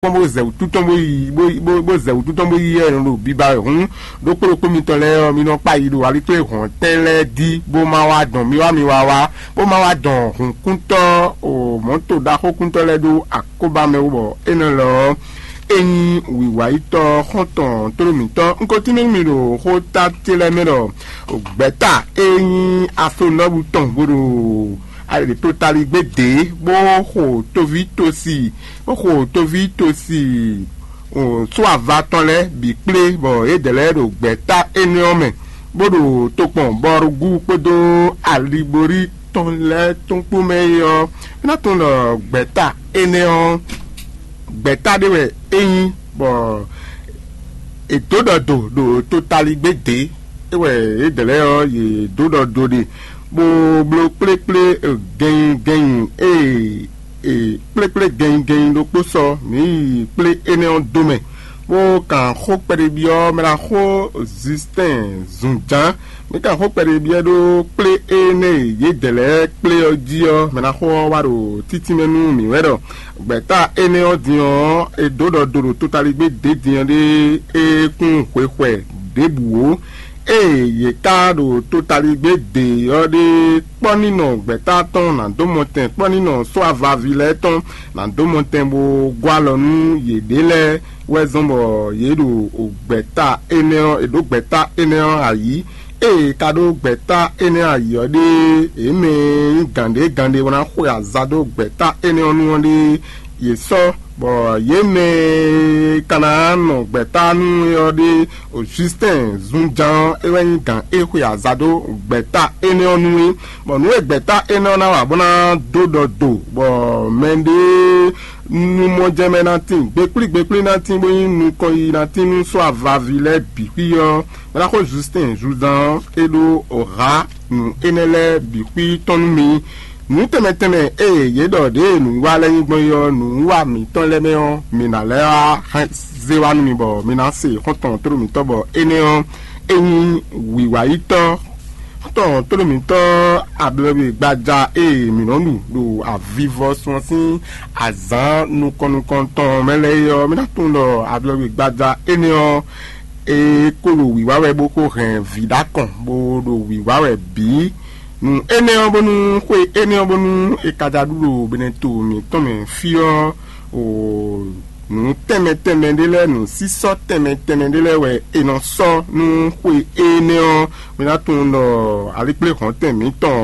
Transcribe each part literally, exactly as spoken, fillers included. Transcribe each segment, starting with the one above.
kpɔ́n bó zɛ wǔtu tɔn bó yi bó bó bó zɛ wǔtu tɔn bó yi ɛ nɔ ɖo biba wɛ hǔn, ɖokpó ɖokpó mitɔn lɛ́ɛ ɔ́, mi nɔ kpa yi ɖo alikpléhɔ̌ntɛn lɛ́ɛ dí, bó má wá dɔn mi wá mi wá wá, bó má wá dɔn hǔnkúntɔ́ o mɔ̌to ɖaxókúntɔ́ lɛ́ɛ ɖó akóbá mɛ wú, bɔ é nɔ lɔ ɔ́, é nyí wǐwáyítɔ́ xɔ́ntɔn tlóló mǐtɔn. Un ko tínmɛ nú mi ɖo xóta ce lɛ́ɛ mɛ ɖɔ gbɛ̌ta e nyí aflonɔ́bú tɔn bó ɖo ali ɖo totaligbé dě, bó xo toví tosi bó xo toví tosi só ava tɔn lɛ́ɛ bǐ kplé, bɔ yědɛɛ lɛ́ɛ ɖo gbɛ̌ta énɛ́ ɔ́ mɛ, bó ɖo tokpɔn Bɔrugú kpódó Aliborí tɔn lɛ́ɛ tɔn kpó mɛ é ɔ́, é ná tunwun ɖɔ gbɛ̌ta énɛ́ ɔ́, gbɛ̌ta ɖé wɛ é nyí, bɔ è dǒ ɖɔ do ɖo totaligbé dě, é wɛ yědɛɛ lɛ́ɛ ɔ́, yě dǒ ɖɔ do ɖe, bó bló kplékplé gɛnyi gɛnyi e e kplékplé gɛnnyigɛnnyi ɖokpó sɔ mǐ yi kplé énɛ́ ɔ́ dó mɛ, bó kan xó kpɛɖébyɔ́ mɛ ná xó Zistɛn zunján. Mǐ kan xó kpɛɖébyɔ́ ɖó kplé énɛ́ e yědɛɛ lɛ́ɛ kplé ɔ́ jí ɔ́, mɛ ná xó ɔ́ wá ɖo títínmɛ nú mǐ wɛ ɖɔ gbɛ̌ta énɛ́ ɔ́ din ɔ́, è dǒ ɖɔ do ɖo totaligbé dě din ɔ́ ɖé, é kún hwexwɛ ɖěbǔ ó. Ée yě ká ɖo totaligbé dě ɔ́ ɖé, kpɔ́ ní nɔ gbɛ̌ta tɔn ná dó mɔtɛn, kpɔ́ ní nɔ só avaví lɛ́ɛ tɔn ná dó mɔtɛn bó gɔ́ alɔ nú yěɖée lɛ́ɛ wɛ zɔ́n bɔ yě ɖo gbɛ̌ta énɛ́ ɔ́, è ɖǒ gbɛ̌ta énɛ́ ɔ́ ayǐ. Ée è ka ɖó gbɛ̌ta énɛ́ ayǐ ɔ́ ɖée, yě mɛ e nyí gǎnɖé gǎnɖé bó ná xwe aza dó gbɛ̌ta énɛ́ ɔ́ nu ɔ́ ɖée, yě sɔ́, bɔ yě mɛ e ka ná nɔ gbɛ̌ta nú é ɔ́ ɖe, Justin zunjan ɔ́, é wɛ nyí gǎn e xwe aza dó gbɛ̌ta énɛ́ ɔ́ nu é. Bɔ nǔ e gbɛ̌ta énɛ́ ɔ́ ná wa bó ná dó ɖɔ do, bɔ mɛɖée nu mɔ jɛ mɛ ná tín, gbekplí gbekplí ná tín, bó nyí nukɔn yiyi ná tín nú sɔ́ avaví lɛ́ɛ bǐ xwí ɔ́, é ná xo Justin zunzan ɔ́, é ɖó hǎ nǔ énɛ́ lɛ́ɛ bǐ xwí tɔn nú mi. Nǔ tɛnmɛ tɛnmɛ e yě ɖɔ ɖěe nǔwiwa lɛ́ɛ nyí gbɔn é ɔ́, nǔwiwa mǐtɔn lɛ́ɛ mɛ ɔ́, mǐ ná lɛ́ wá zé wá nú mi, bɔ mi ná se xɔ́ntɔn tlóló mǐtɔn, bɔ énɛ́ ɔ́, é nyí wǐwáyítɔ́ xɔ́ntɔn tlóló mǐtɔn ablɔ́we gbaja e mǐ nɔ ɖu ɖo avivɔsun ɔ́ sín azǎn nukɔn nukɔn tɔn mɛ lɛ́ɛ é ɔ́, mi ná tunwun ɖɔ ablɔ́we gbaja énɛ́ ɔ́, é ko ɖo wǐwá wɛ bó ko hɛn vǐ ɖó akɔn, bó ɖo wǐwá wɛ bǐ. Nǔ énɛ́ ɔ́, bónú xwe énɛ́ ɔ́, bónú è ka ja ɖu ɖo Beneto mǐtɔn mɛ fí ɔ́, o nǔ tɛnmɛ tɛnmɛ ɖé lɛ́ɛ, nǔsísɔ́ tɛnmɛ tɛnmɛ ɖé lɛ́ɛ wɛ è nɔ sɔ́ nú xwe énɛ́ ɔ́. Mi ná tunwun ɖɔ alikpléhɔ̌ntɛn mǐtɔn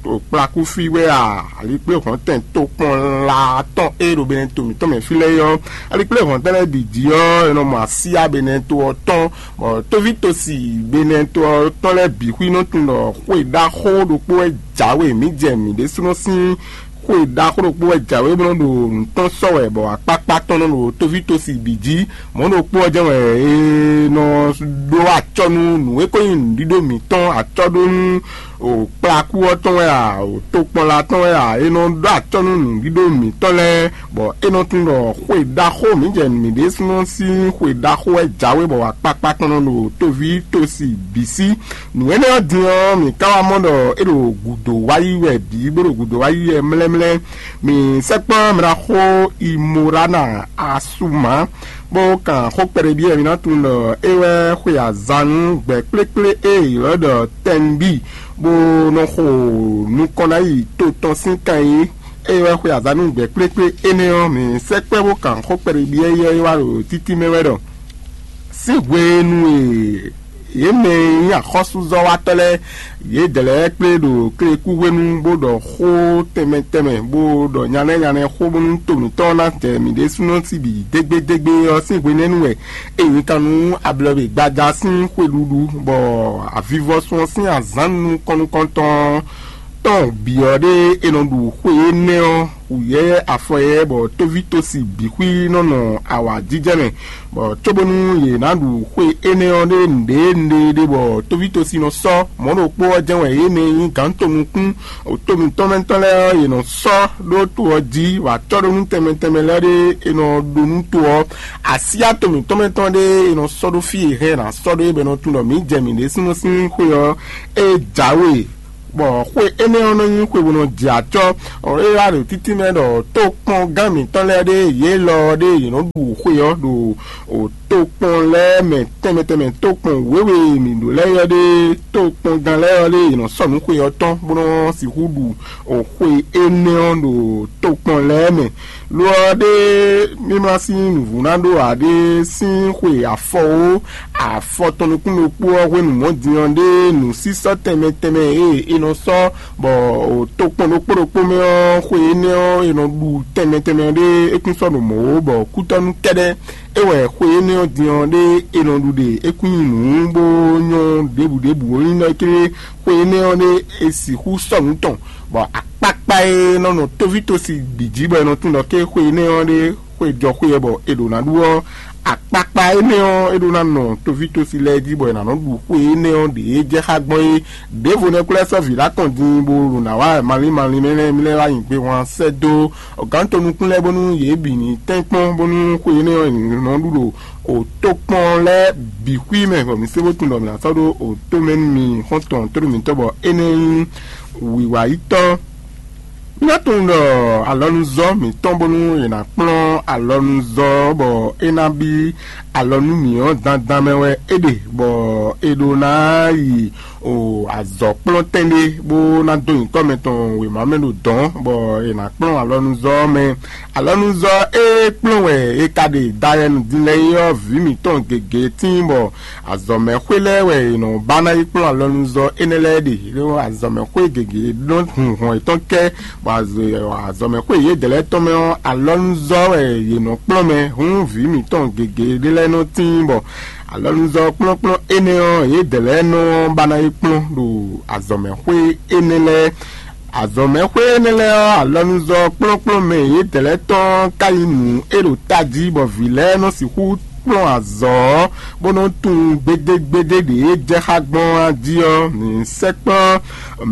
ɖo kplakúfí wɛ a, alikpléhɔ̌ntɛn tokpɔnla tɔn e ɖo Beneto mǐtɔn mɛ fí lɛ́ɛ ɔ́, alikpléhɔ̌ntɛn lɛ́ɛ bǐ jí ɔ́, è nɔ mɔ asíyá Beneto ɔ́ tɔn, bɔ tóvítosi Beneto ɔ́ tɔn lɛ́ɛ bǐ xwí nɔ tunwun ɖɔ xwe ɖaxó ɖokpó wɛ jǎwe mǐ jɛ mǐ ɖésúnɔ sín xwe ɖaxó ɖokpó wɛ jǎwe bó nɔ ɖo nǔ tɔn sɔ́ wɛ, bɔ akpákpá tɔn nɔ ɖo tóvítosi bǐ jí. Mɔ̌ ɖokpó ɔ́ jɛ́n wɛ è nɔ ɖó acɔ́ nú nǔ e ko nyí nǔɖíɖó mǐtɔn, acɔ́ ɖó nú kplakú ɔ́ tɔn wɛ a, tokpɔnla tɔn wɛ a, è nɔ ɖó acɔ́ nú nǔɖíɖó mǐtɔn lɛ́ɛ, bɔ é nɔ tunwun ɖɔ xwe ɖaxó mǐ jɛ mǐ ɖésúnɔ sín xwe ɖaxó wɛ jǎwe, bɔ akpákpá tɔn nɔ ɖo tóvítosi bǐ sí. Nǔ énɛ́ ɔ́ din ɔ́, mǐ ka wá mɔ ɖɔ é ɖo gǔdo wá yi wɛ bǐ, bó ɖo gǔdo wá yi wɛ mlɛ́mlɛ́. Mǐ sɛkpɔ́ mɛ ná xó Imorana Asuma, bó kan xó kpɛɖé byɔ́ mǐ ná tunwun ɖɔ é wɛ xwe azan nú gbɛ̌ kplékplé e è ylɔ́ ɖɔ Tɛnbi, bó nɔ xo nukɔn ná yi to tɔn sín kan é. É wɛ xwe azan nú gbɛ̌ kplékplé énɛ́ ɔ́, mǐ sɛkpɔ́ bó kan xó kpɛɖé byɔ́ é wá ɖo títí mɛ wɛ ɖɔ sín hwenu e yě mɛ e nyí axɔ́súzɔ́watɔ́ lɛ́ɛ, yědɛɛ lɛ́ɛ kplé ɖo klekú hwenu bó ɖɔ xó tɛnmɛ tɛnmɛ, bó ɖɔ nyanɛ nyanɛ xó bónú to mǐtɔn ná jɛ mǐ ɖésúnɔ sí bǐ dégbédégbé ɔ́ sín hwenɛ́nu wɛ è nyi kan nú ablɔ̌we gbaja sín xweɖuɖu, bɔ avivɔsun ɔ́ sín azǎn nukɔn nukɔntɔn tɔn bǐ ɔ́ ɖé è nɔ ɖu xwe énɛ́ ɔ́, wǔyɛ́yɛ́ afɔyɛ́yɛ́, bɔ tóvítosi bǐ xwí nɔ nɔ awǎjijɛ mɛ, bɔ cóbónú yě ná ɖu xwe énɛ́ ɔ́ ɖé nǔɖé nǔɖé ɖé, bɔ tóvítosi nɔ sɔ́ mɔ̌ ɖokpó ɔ́ jɛ́n wɛ yě mɛ e nyí gǎn tonukún to mǐtɔn mɛ tɔn lɛ́ɛ ɔ́, yě nɔ sɔ́ ɖó to ɔ́ jí, bɔ acɔ́ɖónú tɛnmɛ tɛnmɛ lɛ́ɛ ɖé è nɔ ɖó nú to ɔ́. Asyá to mǐtɔn mɛ tɔn ɖé è nɔ sɔ́ ɖó fí e hɛn è nǎ sɔ́ ɖó é, bɔ è nɔ tunwun ɖɔ mǐ jɛ mǐ ɖésúnɔ sín xwe ɔ́, é jǎwe Bɔ xwe énɛ́ ɔ́ nɔ nyí xwe bó nɔ jɛ acɔ́. É wá ɖo títí mɛ ɖɔ tókpɔngán mǐtɔn lɛ́ɛ ɖé yě lɔ ɔ́ ɖé yě nɔ ɖu xwe ɔ́ ɖo tokpɔn lɛ́ɛ mɛ tɛnmɛ tɛnmɛ, tokpɔn wěwe e mǐ ɖó lɛ́ɛ ɔ́ ɖé, tokpɔngán lɛ́ɛ ɔ́ ɖé yě nɔ sɔ́ nǔ xwe ɔ́ tɔn bó nɔ sixú ɖu xwe énɛ́ ɔ́ ɖo tokpɔn lɛ́ɛ mɛ. Lo ɔ́ ɖé mímlá sín nǔvú ná ɖó ǎ ɖé sín xwe afɔwó afɔ tɔn nukún ɖokpó ɔ́ hwenu mɔ̌ din ɔ́ ɖé nǔsísɔ́ tɛnmɛ tɛnmɛ e è nɔ sɔ́ bɔ tokpɔn ɖokpó ɖokpó mɛ ɔ́, xwe énɛ́ ɔ́ è nɔ ɖu tɛnmɛ tɛnmɛ ɔ́ ɖé é kún sɔ́ ɖo mɔ̌ ó, bɔ kútɔ́nú kɛ́ɖɛ́ é wɛ xwe énɛ́ ɔ́ din ɔ́ ɖé è nɔ ɖu ɖe é kún nyí nǔ bó nyɔ́ ɖěbǔ ɖěbǔ ó nyí ɖɔ kéré xwe énɛ́ ɔ́ ɖé è sixú sɔ́ nǔ tɔn, bɔ akpakpa e nɔ nɔ tóvítósi bǐ jí bɔ è nɔ tunwun ɖɔ ké xwe énɛ́ ɔ́ ɖé xwe jɔ xwe ɛ bɔ è ɖǒ ná ɖu ɔ́, akpakpa énɛ́ ɔ́ é ɖó ná nɔ tóvítósi lɛ́ɛ jí bɔ è nǎ nɔ ɖu xwe énɛ́ ɔ́ ɖě jɛ xá gbɔn é. Ɖěvo nɛ́ kú lɛ́ sɔ́ vǐ ɖó akɔn din bó ɖo nǎ wá malín malín mɛ lɛ́ɛ mì lɛ́ wá nyi gbehwan sɛ́ dó gǎn tɔn nukún lɛ́ɛ bónú yě bǐ ní tɛ́nkpɔ́n bónú xwe énɛ́ ɔ́ è nǐ nɔ ɖu ɖo òtókpɔn lɛ́ɛ bǐ xwí mɛ, bɔ mǐ sé bó tunwun ɖɔ mǐ ná sɔ́ ɖó òtó mɛ nú mi xɔ́ntɔn tónú mǐtɔn bɔ énɛ́ nyí wǐwáyítɔ́. Mǐ ná tunwun ɖɔ alɔnuzɔ́ mǐtɔn bónú è nǎ kplɔ́n alɔnuzɔ́ ɔ́ bɔ é ná bí alɔ nú mǐ ɔ́ dandan mɛ wɛ é ɖe, bɔ è ɖó ná yi o azɔ̌kplɔ́ntɛn ɖé bó ná dó nyǐkɔ mɛtɔn wěma mɛ ɖo dɔ̌n, bɔ è nǎ kplɔ́n alɔnuzɔ́ ɔ́ mɛ. Alɔnuzɔ́ e kplɔ́n wɛ è ka ɖe dayɛnu din lɛ́ɛ é ɔ́, vǐ mǐtɔn gěgé tíin bɔ azɔ̌mɛxwé lɛ́ɛ wɛ è nɔ ba ná yi kplɔ́n alɔnuzɔ́ énɛ́ lɛ́ɛ ɖe. Ló azɔ̌mɛxwé gěgé nɔ hun hɔn yětɔn kɛ, bɔ azɔ̌mɛxwé yědɛɛ lɛ́ɛ tɔn mɛ ɔ́, alɔnuzɔ́ wɛ yě nɔ kplɔ́n mɛ. Hǔn vǐ mǐtɔn gěgé ɖé lɛ́ɛ nɔ tíin bɔ alɔnuzɔ́ kplɔ́nkplɔ́n énɛ́ ɔ́, yědɛɛ lɛ́ɛ nɔ ba ná yi kplɔ́n ɖo azɔ̌mɛxwé énɛ́ lɛ́ɛ. Azɔ̌mɛxwé énɛ́ lɛ́ɛ ɔ́, alɔnuzɔ́ kplɔ́nkplɔ́n mɛ yědɛɛ lɛ́ɛ tɔn ka nyí nǔ e ɖo tají bɔ vǐ lɛ́ɛ nɔ sixú kplɔ́n azɔ̌ ɔ́, bó nɔ́ tunwun gbédégbédé ɖě e jɛ xá gbɔn ɔ́ jí ɔ́, mǐ sɛkplɔ́n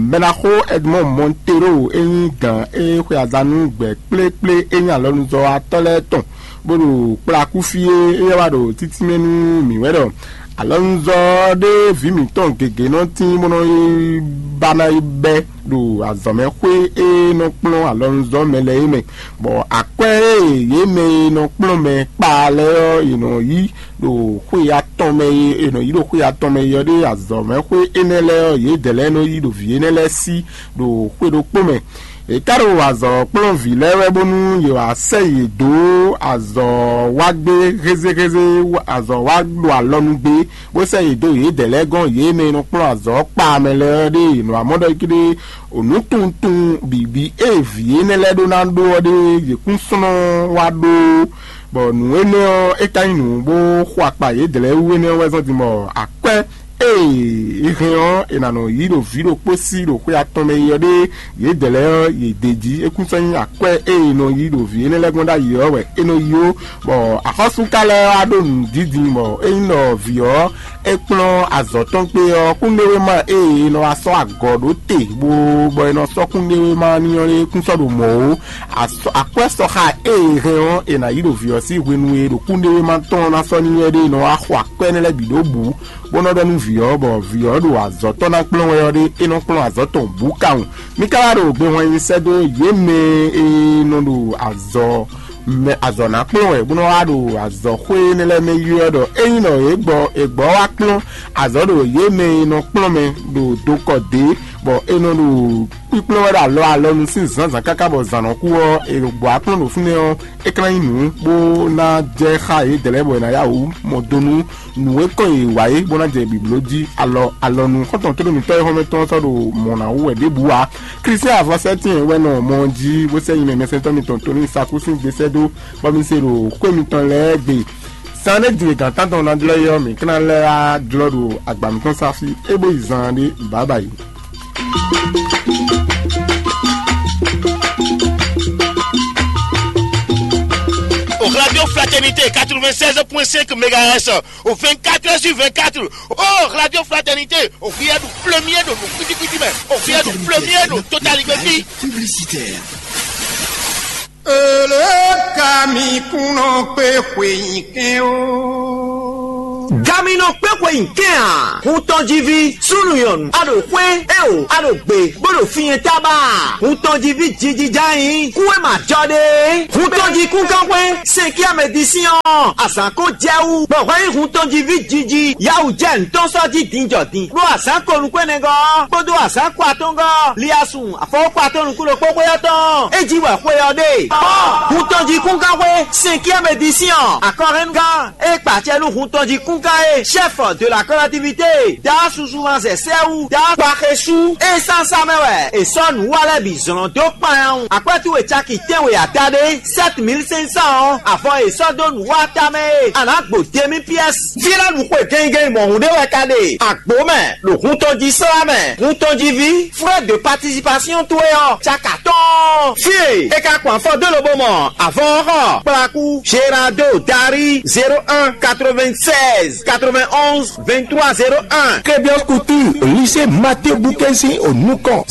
Mɛɖaxó Edmond Montero e nyí gǎn e xwe aza nú gbɛ kplékplé e nyí alɔnuzɔ́watɔ́ lɛ́ɛ tɔn, bó ɖo kplá kú fí é, éyɛ́ wá ɖo títí mɛ nú mǐ wɛ ɖɔ alɔnuzɔ́ ɖé vǐ mǐtɔn gěgé nɔ tín bó nɔ yi ba ná yi bɛ́ ɖo azɔ̌mɛxwé e nɔ kplɔ́n alɔnuzɔ́ mɛ lɛ́ɛ é mɛ, bɔ akwɛ́ e yě mɛ e nɔ kplɔ́n mɛ kpa lɛ́ɛ ɔ́, yě nɔ yí ɖo xwe atɔn mɛ e è nɔ yí ɖo xwe atɔn mɛ e ɔ́ ɖe azɔ̌mɛxwé énɛ́ lɛ́ɛ ɔ́, yědɛɛ lɛ́ɛ nɔ yí ɖo vǐ énɛ́ lɛ́ɛ sí ɖo xwe ɖokpó mɛ. È ka ɖo azɔ̌ kplɔ́n vǐ lɛ́ɛ wɛ bónú yě wǎ sɛ́ yě dó azɔ̌ wá gbé hézéhézé, azɔ̌ wá ɖo alɔ nú gbé, bó sɛ́ yě dó yědɛɛ lɛ́ɛ gɔ́n, yě mɛ e nɔ kplɔ́n azɔ̌ kpa mɛ lɛ́ɛ ɔ́ ɖe è nɔ wá mɔ ɖɔ é ké ɖe nǔtunwuntunwun bǐbí e vǐ énɛ́ lɛ́ɛ ɖó ná ɖó ɔ́ ɖe yě kún slɔ́n wá ɖó, bɔ nǔ énɛ́ ɔ́, é ka nyí nǔ bó xo akpa yědɛɛ lɛ́ɛ wú énɛ́ ɔ́ wɛ zɔ́n din bɔ akwɛ́ e è hɛn ɔ́, è nǎ nɔ yí ɖo vǐ ɖokpó sí ɖo xwe atɔn mɛ yi ɔ́ ɖe, yědɛɛ lɛ́ɛ ɔ́, yě d'é jí. É kún sɔ́ nyí akwɛ́ e è nɔ yí ɖo vǐ énɛ́ lɛ́ɛ gɔ́n ɖ'ayǐ ɔ́ wɛ é nɔ yi ó, bɔ axɔ́súká lɛ́ɛ wá ɖó nǔ dídin, bɔ é nyí ɖɔ vǐ ɔ́, é kplɔ́n azɔ̌ tɔn kpé ɔ́, kúnɖéwéma e è nɔ wá sɔ́ agɔ̌ ɖó te bó bɔ è nɔ sɔ́ kúnɖéwéma n'i ɔ́, é kún sɔ́ ɖo mɔ̌ ó. Akwɛ́ sɔxa e è hɛn ɔ́, è nǎ yí ɖo vǐ ɔ́ sín hwenu e ɖo kúnɖéwéma tɔn ná sɔ́ n'i wɛ ɖe, è nɔ wá xo akwɛ́ énɛ́ lɛ́ɛ bǐ ɖó bǔ, bó nɔ́ ɖɔ nú vǐ ɔ́, bɔ vǐ ɔ́ ɖo azɔ̌ tɔn ná kplɔ́n wɛ ɔ́ ɖé, é nɔ kplɔ́n azɔ̌ tɔn bǔ kawun. Mí ka wá ɖo gbehwan nyi sɛ́ dó yě mɛ e nɔ ɖo azɔ̌ mɛ azɔ̌ ná kplɔ́n wɛ, bó nɔ́ wá ɖo azɔ̌xwé énɛ́ lɛ́ɛ mɛ yi ɔ́ ɖɔ ényí nɔ yě gbɔ è gbɔ wá kplɔ́n azɔ̌ ɖo yě mɛ e nɔ kplɔ́n mɛ ɖo dokɔ dě, bɔ è nɔ ɖo kpíkplɔ́n wɛ ɖo alɔ alɔnu sín zǎnzǎn káká bɔ zǎn nɔ kú ɔ́, è ɖo gbɔ wá kplɔ́n ɖo fínɛ́ ɔ́, é ka ná nyí nǔ bó ná jɛ xá yědɛɛ lɛ́ɛ bɔ è nǎ yá wǔ mɔ do nú nǔ e kɔn yě wa é bó ná jɛ bǐbló jí. Alɔ alɔnu xɔ́ntɔn tónú mǐtɔn e xɔ́mɛ tɔn sɔ́ ɖo mɔ̌ ná wú wɛ ɖěbǔ ǎ. Klísu avɔsɛ́tín wɛ nɔ mɔ ɔ́ jí bó sɛ́ nyi mɛ mɛsɛntɔ́ mitɔn Tony Saku sín gbesɛ́ dó, bɔ mi se ɖo xwé mitɔn lɛ́ɛ gbe. Zan ɖé din e gǎn tántɔn ná jlɔ́ é ɔ́, mǐ ka ná lɛ́ wá jlɔ́ ɖo agba mǐtɔn sá fí é bó yi zan ɖé bǎbǎyi. Au Radio Fraternité quatre-vingt-seize point cinq mégahertz, au vingt-quatre heures sur vingt-quatre. Oh, Radio Fraternité, au via du premier de nos cuitimè, au via du premier de Total Publicitaire. Ele ka mi kunɔ kpe xwe nyi kɛn o. Ami nɔ kpé xwe nyi kɛn a? Hun tɔn jí ví, súnnu nyɔ̌nu, a ɖo xwé, é o, a ɖo gbe, bó ɖo fí nyɛ tábà. Hun tɔn jí ví jiji ján nyí, kú é ma jɔ ɖe. Hun tɔn jí kún gán xwé, sɛn kí amɛ di sín ɔ́, azǎn kó jɛ wú, bɔ hwɛ nyí hun tɔn jí ví jiji, yawu jɛ ntɔ́n sɔ́ jí din jɔ din. Ɖó azǎn ko nukún ɛnɛ gɔ́, kpódó azǎn ko atɔ́n gɔ́, liasun, afɔwọ́kpa tɔn nukún ɖokpó xwé ɔ́ tɔn, é jí wɛ xwe ɔ́ ɖe. Hun tɔn jí kún gán xwé, sɛn kí amɛ di sín ɔ́, akɔhɛnnugán, é kpa acɛ nú hun tɔn jí kún gán é, chef de la collectivité, da susu ma zɛ sɛ́wú, da kpaxesú, é sánsá mɛ wɛ, è sɔ́ nǔ wa lɛ́ bǐ zlɔ́n dó kpanyawun. Akwɛ́tú e caki tɛ́nwe ada ɖé, sept mille cinq cents ɔ́, avɔ e sɔ́ dó nǔ wa tamɛ é, a nǎ gbo demi pièce. Fí lɛ́ ɖu xwe gɛngɛn mɔ̌hun ɖé wɛ ka ɖe, agbo mɛ, ɖo hun tɔn jí slá mɛ, hun tɔn jí ví, frais de participation towe ɔ́, caka tɔn. Fí e é ka kpɔn afɔ dó lobo mɔ avɔ ɔ́ xɔ, kplakú, Gerardo Dari, zéro un, quatre-vingt-seize, quatre-vingt-onze, vingt-trois, zéro un. Kebios Couture, lycée Mathieu Boukensi au Nukon,